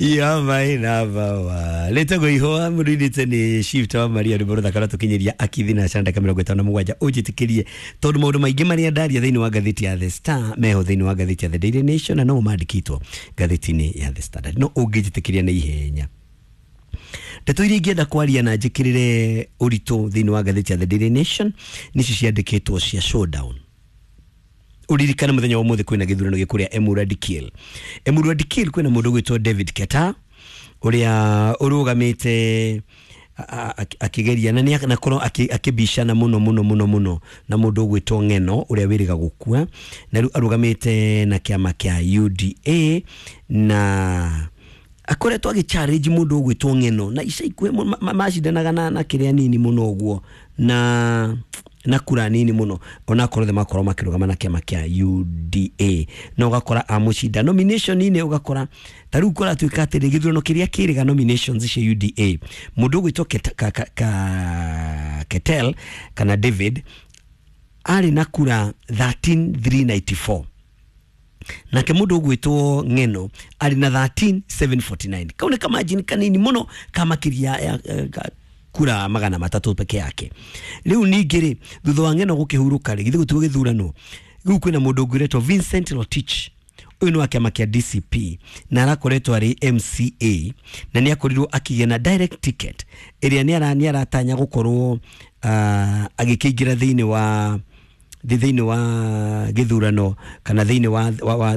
Ya my number one. Letagwo ihũa mũrũinĩte nĩ Shift wa Maria, rwĩmbo rũthaka rwatũkinyĩria akithi na canda 57. Ũnjĩtĩkĩrie tondũ maũndũ maingĩ marĩa ndaria thĩinĩ wa ngathĩti ya The Star meho thĩinĩ wa ngathĩti ya The Daily Nation, na no mandĩkĩtwo ngathĩti-inĩ ya The Standard. No ũngĩnjĩtĩkĩria na ihenya, ndeto iria ingĩenda kwaria na njĩkĩrĩre ũritũ thĩinĩ wa ngathĩti ya The Daily Nation nĩcio ciandĩkĩtwo cia showdown. Uririkane muthenya wa umuthi kwina githurano gikuria Emurua Dikirr. Emurua Dikirr kwina mundu gwitwo David Keta uria urugamite akigeria na nĩ nakorwo akĩbicana mũno mũno mũno mũno na mũndũ ũgwĩtwo Ng'eno ũrĩa wĩrĩga gũkua, na rĩu arũgamĩte na kĩama kĩa UDA na akoretwo agĩ challenge mũndũ ũgwĩtwo Ng'eno, na ica ikuhĩ macindanaga na kĩrĩa nini mũno ũguo na kura nini mũno, onakorwo othe makorwo makĩrũgama na kĩama kĩa UDA, na ũgakora amũcinda nomination-inĩ. Ũgakora ta rĩu kũratuĩka atĩrĩ, gĩthurano kĩrĩa kĩrĩga nominations cia UDA, mũndũ ũgwĩtwo Ketel kana David arĩ na kura 13394, nake mũndũ ũgwĩtwo Ng'eno arĩ na 13749. Kau nĩ kamajini kanini mũno ka makĩria ya kura 300 peke yake. Rĩu ningĩ rĩ, thutha wa Ng'eno gũkĩhurũka rĩ, githĩ gũtigwo gĩthurano rĩu, kwĩna mũndũ ũngĩ ũretwo Vincent Rotich. Ũyũ nĩ wa kĩama kĩa DCP na arakoretwo arĩ MCA, na nĩ akorirwo akĩgĩa na direct ticket ĩrĩa nĩ aratanya gũkorwo agĩkĩingĩra thĩinĩ wa gĩthurano kana thĩinĩ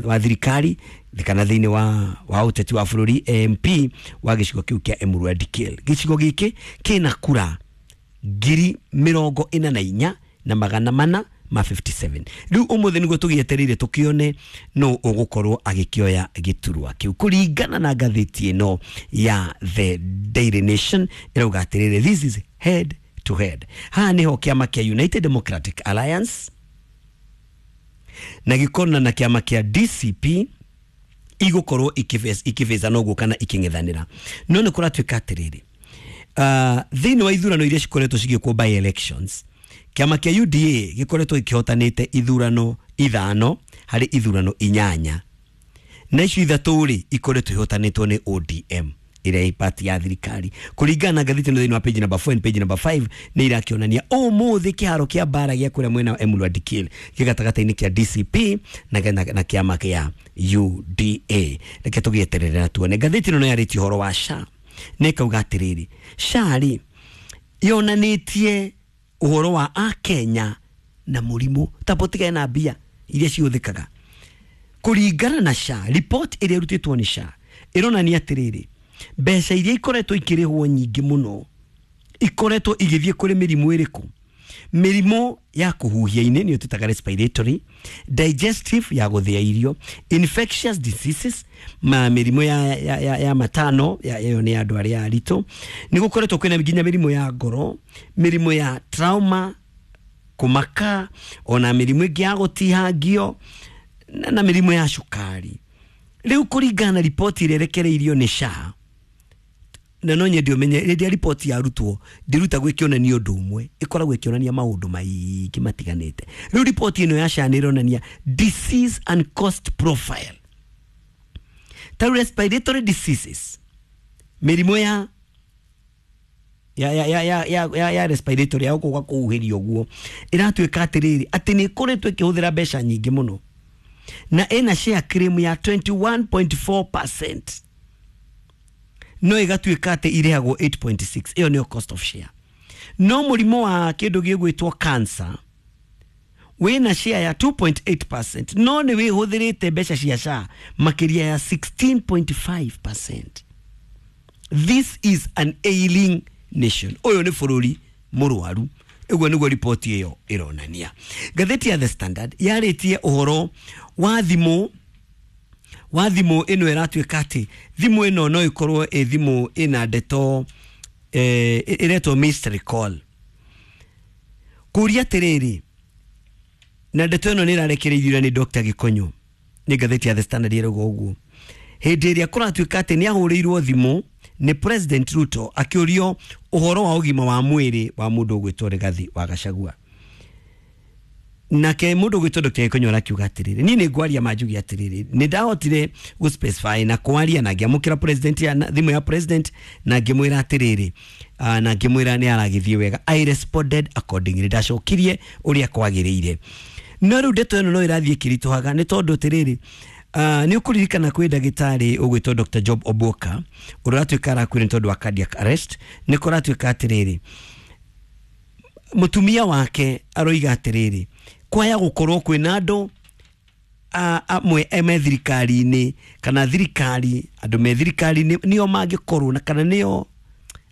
wa thirikari kana thĩinĩ wa ũteti wa bũrũri, MP wa gĩcigo kĩu kĩa Emurua Dikirr. Gĩcigo gĩkĩ kĩna kura 44,457. Rĩu ũmũthĩ nĩguo tũgĩetereire tũkĩone no ũgũkorwo agĩkĩoya gĩturwa kĩu. Kũringana na ngathĩti ĩno ya The Daily Nation, ĩrauga atĩrĩrĩ, this is head to head. Haha nĩho kĩama kĩa United Democratic Alliance na gĩkona na kĩama kĩa DCP igũkorwo ikĩbĩcana ũguo kana ikĩng'ethanĩra. No nĩ kũratuĩka atĩrĩrĩ, thĩinĩ wa ithurano iria cikoretwo cigĩkwo, by elections, kĩama kĩa UDA gĩkoretwo gĩkĩhotanĩte ithurano 5 harĩ ithurano 8, na icio 3 rĩ, ikoretwo ihotanĩtwo nĩ ODM ĩrĩa ĩ party ya thirikari. Kũringana na ngathĩti ĩno, thĩinĩ wa page number 4 and page number 5, nĩ irakĩonania ũmũthĩ kĩharo kĩa mbara gĩa kũrĩa mwena wa Emurua Dikirr gĩ gatagatĩ-inĩ kĩa DCP na kĩama kĩa UDA. Reke tũgĩeterere na tuone. Ngathĩti ĩno no yarĩtie ũhoro wa SHA na ĩkauga atĩrĩrĩ, SHA rĩ, yonanĩtie ũhoro wa akenya na mũrimũ tapotigane na mbia iria cihũthĩkaga. Kũringana na SHA, report ĩrĩa ĩrutĩtwo nĩ SHA ĩronania atĩrĩrĩ, mbeca iria ikoretwo ikĩrĩhwo nyingĩ mũno ikoretwo igĩthiĩ kũrĩ mĩrimũ ĩrĩkũ? Mĩrimũ ya kũhuhia-inĩ, nĩyo twĩtaga respiratory, digestive, ya gũthĩa irio, infectious diseases, ma mĩrimũ ya matano ya ĩyo nĩ andũ arĩa aritũ. Nĩ gũkoretwo kwĩna nginya mĩrimũ ya ngoro, mĩrimũ ya trauma, kũmaka, ona mĩrimũ ĩngĩ ya gũtihangio na mĩrimũ ya cukari. Rĩu kũringana na riboti ĩrĩa ĩrekereirio nĩ SHA, na no nyende ũmenye, rĩrĩa riboti yarutwo ndĩrutagwo ĩkĩonania ũndũ ũmwe, ĩkoragwo ĩkĩonania maũndũ maingĩ matiganĩte. Rĩu riboti ĩno ya SHA nĩ ĩronania disease and cost profile. Ta rĩu respiratory diseases, mĩrimũ ya respiratory, ya gũkũ kũhuhĩria ũguo, ĩratuĩka atĩrĩrĩ, atĩ nĩ ĩkoretwo ĩkĩhũthĩra mbeca nyingĩ mũno na ĩna share claim ya 21.4%, no ĩgatuĩka atĩ irĩhagwo 8.6. Ĩyo nĩyo cost of share. No mũrimũ wa kĩndũ gĩgwĩtwo cancer wĩna share ya 2.8%, no nĩ wĩhũthĩrĩte mbeca cia SHA makĩria ya 16.5%. This is an ailing nation. Ũyũ nĩ bũrũri mũrwaru. Ũguo nĩguo riboti ĩyo ĩronania. Ngathĩti ya The Standard yarĩtie ũhoro wa thimũ ĩno. Ĩratuĩka atĩ thimũ ĩno no ĩkorwo ĩ thimũ ĩna ndeto ĩretwo mystery call. Kũria atĩrĩrĩ, na ndeto ĩno nĩ ĩrarekereirio nĩ Dr. Gĩkonyo, nĩ ngathĩti ya The Standard ĩrauga ũguo, hĩndĩ ĩrĩa kũratuĩka atĩ nĩ ahũrĩirwo thimũ nĩ President Ruto akĩũrio ũhoro wa ũgima wa mwĩrĩ wa mũndũ ũgwĩtwo Rigathi wa Gachagua. Nake mundu gwitwo Dr. Gikonyo arakiuga atiriri, ni ni ngwaria manjuge atiriri, ni ndahotire gu specify na kwaria na ngiamukira president ya thimu ya president na ngimwira atiriri, na ngimwira ni aragithie wega. I responded accordingly, ndacokirie uria kwagiriire. No riu ndeto ĩno no ĩrathiĩ ĩkĩritũhaga nĩ tondũ atĩrĩrĩ, nĩ ũkũririkana kwĩ ndagĩtarĩ ũgwĩtwo Dr. Job Oboka ũrĩa ũratuĩka arakuire nĩ tondũ wa cardiac arrest. Nĩ kũratuĩka atĩrĩrĩ, mũtumia wake aroiga atĩrĩrĩ, kwaya gũkorwo kwĩna andũ amwe me thirikari-inĩ kana thirikari, andũ me thirikari-inĩ nĩo mangĩkorwo na kana nĩo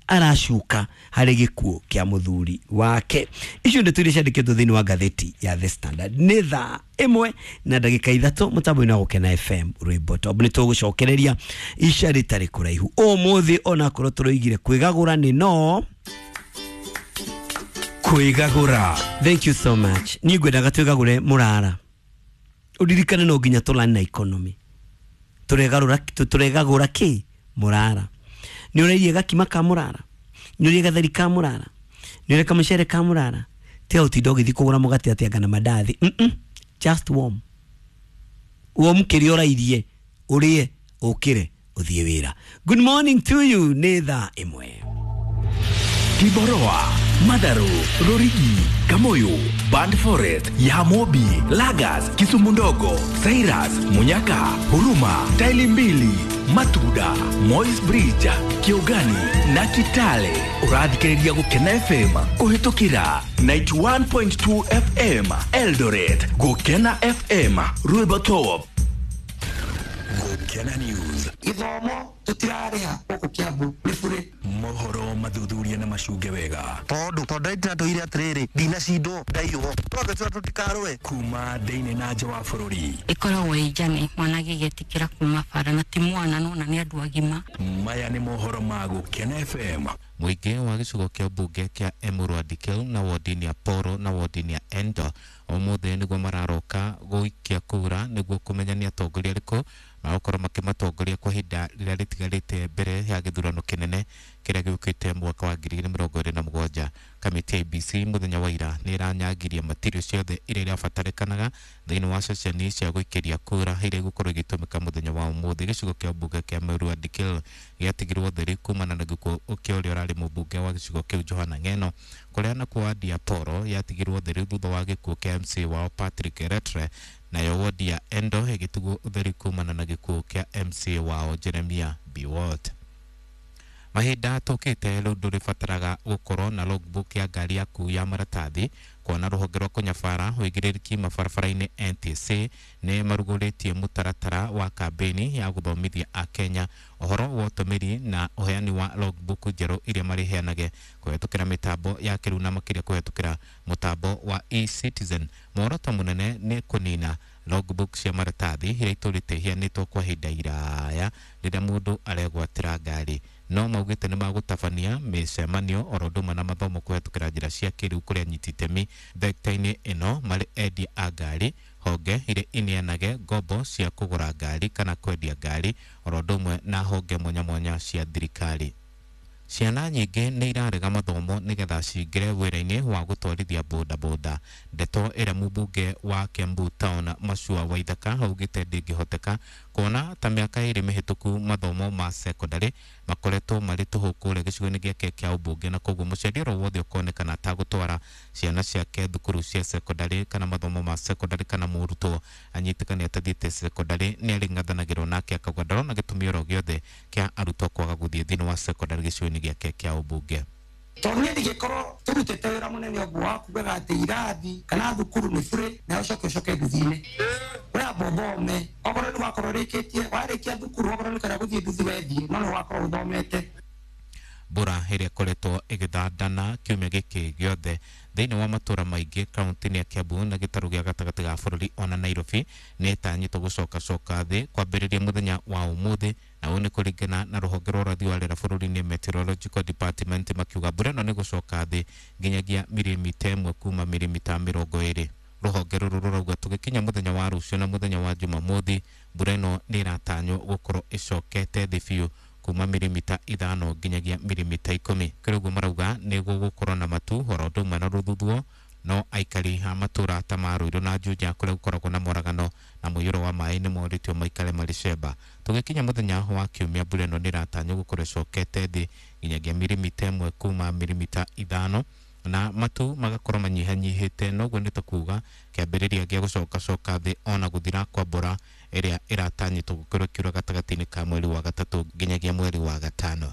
aracuka harĩ gĩkuũ kĩa mũthuri wake. Icio ndeto iria ciandĩkĩtwo thĩinĩ wa ngathĩti ya The Standard. Nĩ thaa 1:03 mũtambo-inĩ wa Gũkena FM rwĩmbo top. Nĩ tũgũcokereria ica rĩtarĩ kũraihu ũmũthĩ, onakorwo tũroigire kwĩgagũra nĩ no kwĩgagũra. Thank you so much. Niĩ ngwendaga twĩgagũre mũrara. Ũririkane no nginya tũrani na economy. Tũregagũra kĩ? Mũrara. Nĩ ũrairie gakima ka mũrara, nĩ ũrĩe gatheri ka mũrara, nĩ ũrĩe kamũcere ka mũrara. Tiga ũtinda ũgĩthiĩ kũgũra mũgate atĩ anga na mandathi. Just warm. Warm kĩrĩa ũrairie, ũrĩe, ũkĩre, ũthiĩ wĩra. Good morning to you. Nĩ thaa 1. Kiboroa, Madaru, Rorigi, Kamoyo, Band Forest, Yamobi, Lagas, Kisumu Ndogo, Cyrus, Munyaka, Huruma, Taili Mbili, Matuda, Moi's Bridge, Kiugani na Kitale. Ũrathikĩrĩria Gũkena FM kũhĩtũkĩra 91.2 FM Eldoret, Gũkena FM Rwĩmbo Top. Gũkena News. Gĩthomo tũtirarĩha gũkũ Kiambu nĩ bure. Mohoro mathuthuria na macunge wega. Tondu ndĩratũire atĩrĩrĩ, ndinacindwo ndaiywo. Twambe tũra tũtikarũe. Kuma thĩinĩ na nja wa bũrũri. Ĩkoragwo ĩ njane mwana agĩgĩtĩkĩra kuma bara na ti mwana nona nĩ andũ agima. Maya nĩ mohoro ma Gũkena FM. Mũingĩ wa gĩcigo kĩa mbunge kĩa Emurua Dikirr na wodi ya Poro na wodi ya Endo ũmũthĩ nĩguo mararoka gũikia kura nĩguo kũmenya nĩ atongoria arĩkũ magũkorwo makĩmatongoria kwa ihinda rĩrĩa rĩtigarĩte mbere ya gĩthurano kĩnene kĩrĩa gĩũkĩte mwaka wa 2027. Kamĩtĩ ya IEBC mũthenya wa ira nĩ ĩranyangirie matirio ciothe iria irabatarĩkanaga thĩinĩ wa ceceni cia gũikĩria kura iria igũkorwo igĩtũmĩka mũthenya wa ũmũthĩ. Gĩcigo kĩa mbunge kĩa Emurua Dikirr gĩatigirwo theri kumana na gĩkuũ kĩa ũrĩa ũrarĩ mũmbunge wa gĩcigo kĩu Johana Ng'eno, kũrĩa nakuo wadi ya Poro yatigirwo theri thutha wa gĩkuũ kĩa MC wao Patrick Retre, nayo wodi ya Endo ĩgĩtigwo ũtheri kumana na gĩkuũ kĩa MC wao Jeremia Biwott. Mahinda tũkĩte rĩu ndũrĩbataraga gũkorwo na logbook ya ngari yaku ya maratathi kuona rũhonge rwa kũnyabara ũigĩrĩrĩki mabarabara-inĩ NTSA nĩ marugũrĩtie mũtaratara wa kambĩini ya gũthomithia akenya ũhoro wa ũtũmĩri na ũheani wa logbook njerũ iria marĩheanage kũhetũkĩra mĩtambo ya kĩrĩu na makĩria kũhetũkĩra mũtambo wa eCitizen. Muoroto mũnene nĩ kũnina logbook cia maratathi iria itũrĩte iheanĩtwo kwa ihinda iraya rĩrĩa mũndũ aregwatĩra ngari. No maugĩte nĩ magũtabania mĩcemanio oro ũndũ ũmwe na mathomo kũhetũkĩra njĩra cia kĩrĩu kũrĩ anyiti itemi thekta-inĩ ĩno marĩ endia a ngari, honge iria ineanage ngombo cia kũgũra ngari kana kwendia ngari oro ũndũ ũmwe na honge mwanya mwanya cia thirikari. Ciana nyingĩ nĩ irarega mathomo nĩgetha cingĩre wĩra-inĩ wa gũtwarithia bodaboda. Ndeto ĩrĩa mũmbunge wa Kiambu Town Macua Waithaka augĩte ndĩngĩhoteka kuona ta mĩaka 2 mĩhĩtũku mathomo ma secondary makoretwo marĩ tũhũ kũrĩa gĩcigo-inĩ gĩake kĩa ũmbunge, na koguo mũciari oro wothe ũkonekana atagũtwara ciana ciake thukuru cia secondary kana mathomo ma secondary kana mũrutwo anyitĩkane atathiĩte secondary nĩ arĩng'athanagĩrwo nake, akauga ndarona gĩtũmi oro gĩothe kĩa arutwo kwaga gũthiĩ thĩinĩ wa secondary gĩcigo-inĩ gĩake kĩa ũmbunge. Tondũ niĩ ndingĩkorwo tũrutĩte wĩra mũnene ũguo wa kugaga atĩ irathi kana thukuru nĩ bure na ũcoke ũcoke nduthi-inĩ. We amba ũthome, okorwo nĩ wakorwo ũrĩkĩtie, warĩkia thukuru okorwo nĩ kwenda gũthiĩ nduthi wethiĩ, no nĩ wakorwo ũthomete. Mbura ĩrĩa ĩkoretwo ĩgĩthandana kiumia gĩkĩ gĩothe thĩinĩ wa matũra maingĩ kaunti-inĩ ya Kiambu na gĩtarũ gĩa gatagatĩ ga bũrũri ona Nairobi nĩ ĩtanyĩtwo gũcokacoka thĩ kwambĩrĩria mũthenya wa ũmũthĩ, na ũũ nĩ kũringana na rũhonge rwa ũrathi wa rĩera bũrũri-inĩ Meteorological Department makiuga mbura ĩno nĩ gũcoka thĩ nginyagia mirimita 1 kuma mirimita 20. Rũhonge rũrũ rũrauga tũgĩkinya mũthenya wa rũciũ na mũthenya wa Jumamothi mbura ĩno nĩ ĩratanywo gũkorwo ĩcokete thĩ biũ kuma mirimita 5 nginyagia mirimita 10. Kĩrĩ ũguo marauga nĩ gũgũkorwo na matu oro ũndũ ũmwe na rũthuthuo, No aikari a matũra ta ma Ruiru na Juja kũrĩa gũkoragwo na moragano na mũiyũro wa maĩ nĩ morĩtio maikare marĩ cemba. Tũgĩkinya mũthenya wa kiumia, mbura ĩno nĩ ĩratanywo gũkorwo ĩcokete thĩ nginyagia mirimita 1 kuma mirimita 5, na matu magakorwo manyihanyihĩte, noguo nĩ ta kuga kĩambĩrĩria gĩa gũcokacoka thĩ ona gũthira kwa mbura ĩrĩa ĩratanyĩtwo gũkorwo ĩkiura gatagatĩ-inĩ ka mweri wa gatatũ nginyagia mweri wa gatano.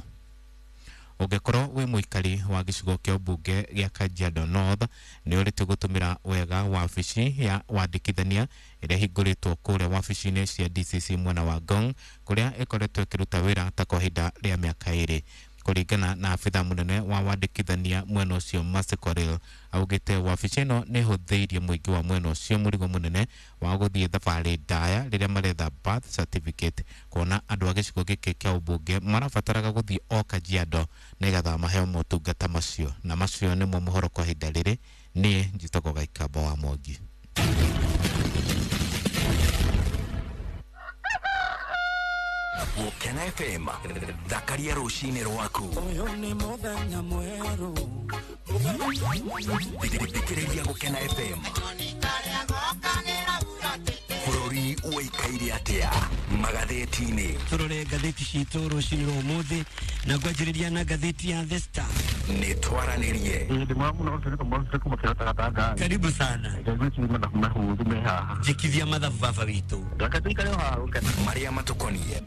Ũngĩkorwo wĩ mũikari wa gĩcigo kĩa ũmbunge gĩa Kajiado North, nĩ ũrĩtio gũtũmĩra wega wabici ya wandĩkithania ĩrĩa ĩhingũrĩtwo kũrĩa wabici-inĩ cia DCC mwena wa Ngong, kũrĩa ĩkoretwo ĩkĩruta wĩra ta kwa ihinda rĩa mĩaka 2. Kũringana na abitha mũnene wa wandĩkithania mwena ũcio Mercy Korir, augĩte wabici ĩno nĩ ĩhũthĩirie mũingĩ wa mwena ũcio mũrigo mũnene wa gũthiĩ thabarĩ ndaya rĩrĩa maretha birth certificate, kuona andũ a gĩcigo gĩkĩ kĩa ũmbunge marabataraga gũthiĩ o Kajiado nĩgetha maheo motungata macio. Na macio nĩmo mohoro kwa ihinda rĩrĩ. Niĩ njĩtagwo Gaikamba wa Mwangi. Gũkena FM, thakaria rũcinĩ rwaku. Ũyũ nĩ mũthenya mwerũ. Thikĩrĩria Gũkena FM. Bũrũri ũikaire atĩa magathĩti-inĩ? Tũrore ngathĩti citũ rũcinĩ rwa ũmũthĩ, na ngwanjĩrĩria na ngathĩti ya The Star. Nĩ twaranĩrie. Karibu sana. Njĩkithia mathabu baba witũ. Marĩa matũkoniĩ.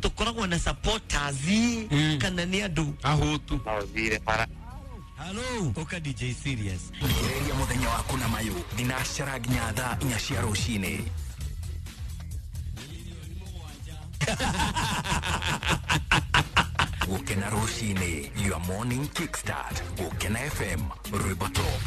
Tũkoragwo na supporters kana nĩ andũ ahũtu. Hello, ũka DJ Serious. Thikĩrĩria mũthenya waku na mayũ thinacara nginya thaa 4 cia rũcinĩ. Gũkena rũcinĩ, your morning kickstart. Gũkena FM, rwĩmbo top.